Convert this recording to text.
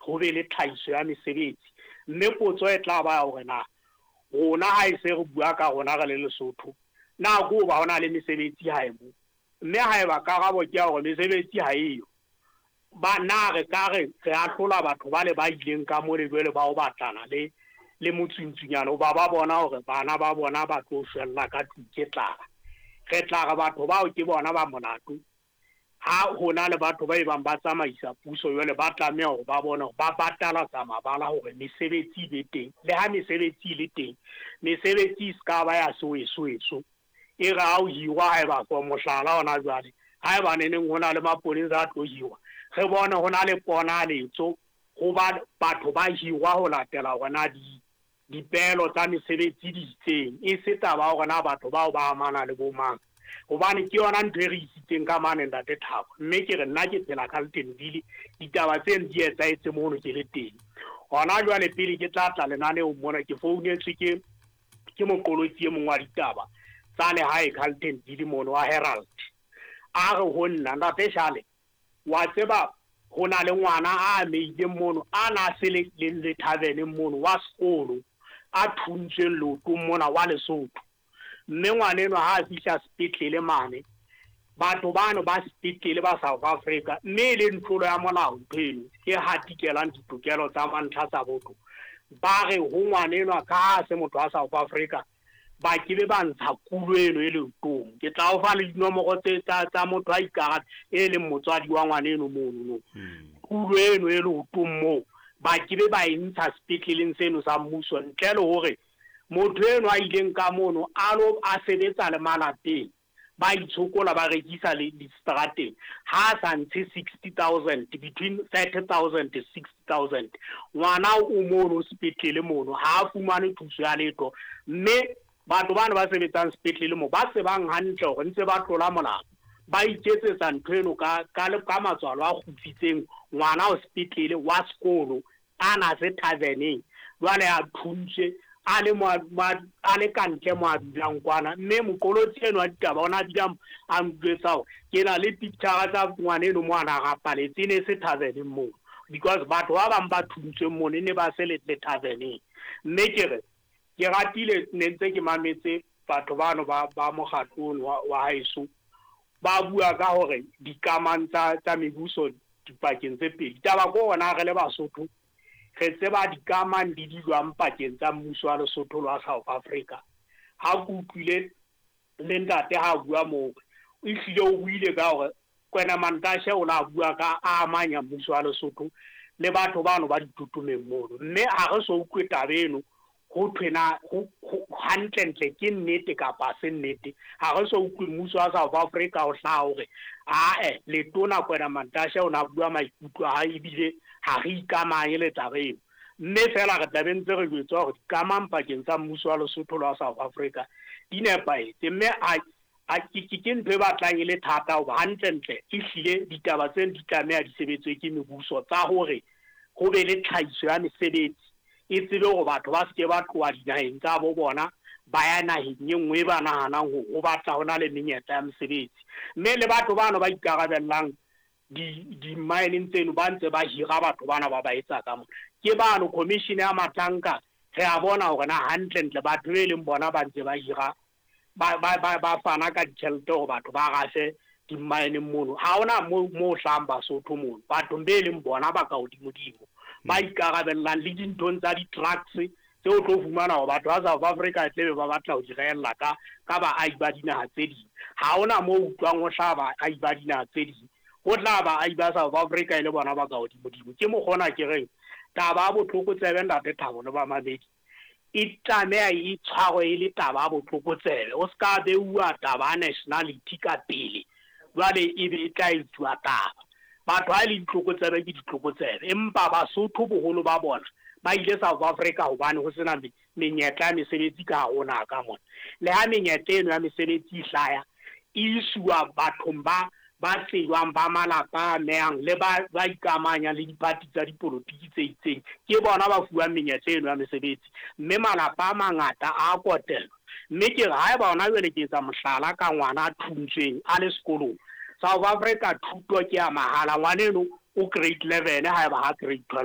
ho be le tlhahiso ya mesebetsi. Mme potso e tla ba ya hore na rona ha e se re bua ka rona re le Lesotho, na ke hoba ho na le mesebetsi hae mo? Mme haeba karabo ke ya hore mesebetsi ha eyo, ba na re ka re re ahlola batho bale ba ileng ka mole jwale ba ho batlana le le motswintswinyane hoba ba bona hore bana ba bona ba tlo shwella ka tlung ke tlala. Re tla re batho bao ke bona ba molato. Ha ho na le batho ba ebang ba tsamaisa puso jwale ba tlameha hore ba bone hore ba batalatsa mabala hore mesebetsi e be teng. Le ha mesebetsi e le teng, mesebetsi e se ka ba ya sewesoweso. E re ha o hirwa haeba for mohlala hona jwale, haeba neneng ho na le maponesa a tlo hirwa, re bone ho na le ponaletso ho ba batho ba hirwa ho latela hore na di dipeelo tsa mesebetsi di itseng, e se taba ya hore na batho bao ba amana le bo mang. Hobane ke yona ntho e re isitseng ka mane Ntate Thabo. Mme ke re nna ke phela Carltonville, ditaba tseno di etsahetse mono ke le teng. Hona jwale pele ke tla tla lenaneong mona ke founetswe ke ke moqolotsi e mong wa ditaba tsa lehae Carltonville mono wa Herald. A re ho nna, Ntate Shale, wa tseba ho na le ngwana a amehileng mono a na se le le le taverneng mono wa sekolo a thuntsweng leotong mona wa Lesotho. Mme ngwana enwa ha a fihla sepetlele mane, batho bano ba sepetlele ba South Africa, mme e leng tlolo ya molao ntho eno e hatikelang ditokelo tsa mantlha tsa botho, ba re ho ngwana enwa ka ha a se motho wa South Africa, ba ke be ba ntsha kulo eno e leotong. Ke tla o fa le dinomoro tse tsa tsa motho a ikara e leng motswadi wa ngwana eno mono no. Kulo eno e leotong moo ba ke be ba e ntsha sepetleleng seno sa mmuso ntle le hore motho eno a ileng ka mono a lo a sebetsa le malapeng ba itshokola ba rekisa le distrateng ha a sa ntshe 60,000 between 30,000 60,000 ngwana o mono sepetlele mono ha a fumane thuso ya letho. Mme batho bano ba sebetsang sepetlele mo ba tsebang hantle hore ntse ba tlola molao, ba iketsetsa ntho eno ka ka ka matswalo a kgutsitseng. Ngwana o sepetlele wa sekolo a na se taverneng jwale a thuntswe a le mo a le ka ntle mo a dulang kwana. Mme moqolotsi eno wa ditaba ona a bile a njwetsa hore ke na le picture tsa ngwana eno mo a na rapaletse, e ne se taverneng mono because batho ba bang ba thuntsweng mono e ne ba se le le taverneng. Mme ke re ke ratile ne ntse ke mametse batho bano ba ba mokgatlo ono wa wa haeso ba bua ka hore dikamang tsa tsa mebuso dipakeng tse pedi. Taba ko hona re le Basotho re tseba dikamang di di jwang pakeng tsa mmuso wa Lesotho le wa South Africa. Ha ke utlwile le ntate ha bua moo, ehlile o buile ka hore Kwena Mantashe o la bua ka a amanya mmuso wa Lesotho le batho bano ba ditotomeng mono. Mme ha re so utlwe taba eno ho thwe na hantlentle ke nnete kapa se nnete. Ha re so utlwe mmuso wa South Africa o hlaha hore ae letona Kwena Mantashe o na bua maikutlo a hae ebile ha re ikamanye le taba eno. Mme feela re tla be ntse re jwetswa hore dikamang pakeng tsa mmuso wa Lesotho le wa South Africa di nepahetse. Mme a a ke ke ke ntho e batlang e le thata hoba hantlentle ehlile ditaba tseno di tlameha di sebetswe ke mebuso tsa hore ho be le tlhahiso ya mesebetsi e tsebe hore batho ba se ke ba tloha dinaheng tsa bo bona ba ya naheng e nngwe e ba nahanang hore ho batla ho na le menyetla ya mesebetsi. Mme le batho bano ba ikarabellang di di-mine tseno ba ntse ba hira batho bana ba ba etsa ka mona. Ke bano commission ya Matlanka re a bona hore na hantlentle batho be leng bona ba ntse ba hira ba ba ba ba fana ka ditjhelete hore batho ba rafe dimmaeneng mono. Ha hona mo mo hlahang Basotho mono, bathong be leng bona ba ka hodimodimo ba ikarabellang le dinthong tsa di-trucks tse o tlo fumana hore batho ba South Africa tle be ba batla ho di rehella ka ka baahi ba dinaha tse ding. Ha hona mo utlwang ho hlaha baahi ba dinaha tse ding, ho tla baahi ba South Africa e le bona ba ka hodimodimo. Ke mokgwa ona ke reng taba ya botlokotsebe Ntate Thabo le bamamedi e tlameha e tshwarwe e le taba ya botlokotsebe. O se ka beuwa taba ya nationality ka pele jwale ebe e tla etsuwa taba. Batho ha e le ditlokotsebe ke ditlokotsebe, empa Basotho boholo ba bona ba ile South Africa hobane ho sena menyetla ya mesebetsi ka hare ho naha ka mona. Le ha menyetla eno ya mesebetsi e hlaya, e isuwa bathong ba ba tsejwang, ba malapa a amehang le ba ba ikamahanyang le diphathi tsa dipolotiki tse itseng, ke bona ba fuwang menyetla eno ya mesebetsi. Mme malapa a mangata a kotelwa. Mme ke re haeba hona jwale ke etsa mohlala ka ngwana a thuntsweng a le sekolong, South Africa thuto ke ya mahala, ngwana eno o grade 11 haeba ha grade 12.